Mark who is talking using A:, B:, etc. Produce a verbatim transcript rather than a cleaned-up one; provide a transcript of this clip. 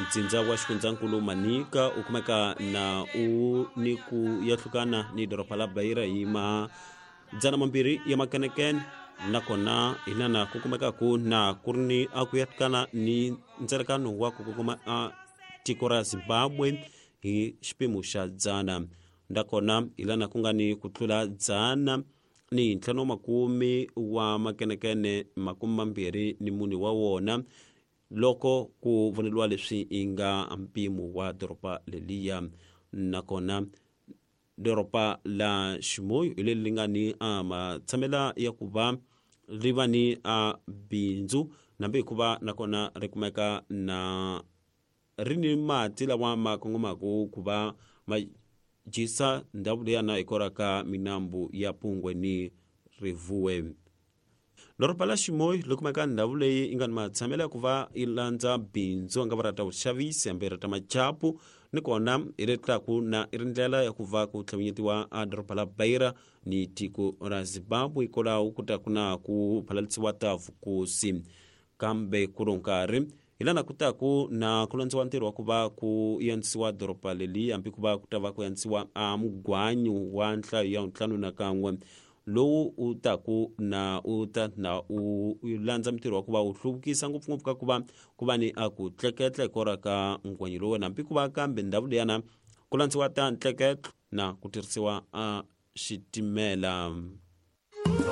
A: Ntsindza wa xifundzankulu Manica u kumeka na u ni ku yahlukana ni doroba la Beira hi madzana mambirhi ya makenekene, nakona hi lana ku kumekaku na ku ri ni a ku yahlukana ni ndzelekano wa ku kongoma a tiko ra Zimbabwe hi xipimo xa dzana. Nakona hi lana ku nga ni ku tlula dzana ni ntlhanu wa makume wa makenekene makume mambirhi ni mune wa wona loko ku voneliwa leswi i nga mpimo wa doroba leliya. Nakona doroba la Chimoio hi leri li nga ni a matshamela ya ku va ri va ni a bindzu, nambe hikuva nakona ri kumeka na ri ni mati lawa ma kongomaku ku va ma dyisa ndhawu leyana hikwalaho ka minambu ya Pungwe ni Rivuwe. Doroba la Chimoio ri kumeka ndhawu leyi yi nga ni matshamelo ya ku va yi landza bindzu nga va ra ta vuxavisi hambi ra ta machapu, ni kona hi leri tlaku na i ri ndlela ya ku va ku tlhavinyetiwa a doroba la Beira ni tiko ra Zimbabwe hikwalaho ku ta ku na ku phalalisiwa ta vukosi. Kambe ku ri nkarhi hi lana ku taku na ku landziwa ntirho wa ku va ku yantsisiwa doroba leli, hambi ku va ku ta va ku yantsisiwa a mugwanyu wa nhlayo ya ntlhanu na kan'we lowu u taku na u ta na u landza mintirho wa ku va u hluvukisa ngopfungopfu ka ku va ku va ni a ku tleketla hikwalaho ka ngwanyi lowu, hambi ku va kambe ndhawu leyana ku landziwa ta ntleketlo na ku tirhisiwa a xitimela.